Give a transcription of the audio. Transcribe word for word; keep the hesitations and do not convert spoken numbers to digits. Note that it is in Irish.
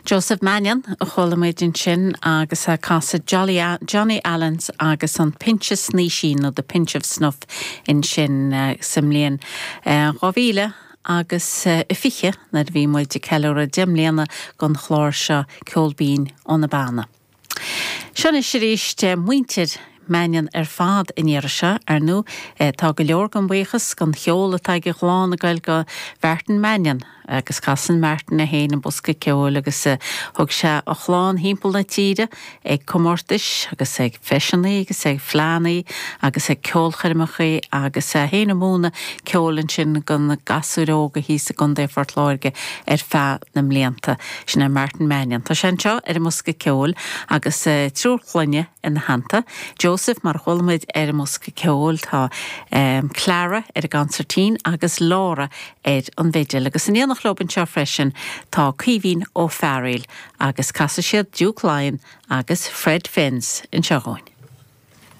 Joseph Mannion a chuala muid ansin agus ag casadh Jolly Johnny Allens agus an Pinse Snaoisín nó the Pinch of Snuff ansin uh, sa mbliain dhá mhíle agus uh, fiche nuair a bhí muid ag ceiliúradh deich mbliana den chlár seo Ceol Binn ó na Beanna. Seo anois arís muintir Mannion ar fad in iarra ar nó tá go leor den bhuíochas den cheol atá ag an chlann ag goil go Martin Mannion agus casann Martin é féin an bosca ceoil agus thug sé a chlann timpeall na tíre ag comórtais agus ag feiseanna agus ag fleánna agus ag ceolchoirmeacha agus é féin ag múineadh ceoil ansin do na gasúir óga thíos i gContae Phort Láirge ar feadh na mblianta sin é Martin Mannion. Tá sé anseo ar an mbosca ceoil agus triúr clainne ina theannta. Joseph mar chuala muid ar an mbosca ceoil tá um, Clara ar an gconsairtín agus Laura ar an bhfidil agus in éineacht leo anseo freisin tá Caoimhín Ó Fearghail agus casfaidh siad Duke Lyon agus Fred Finn's anseo dhúinn.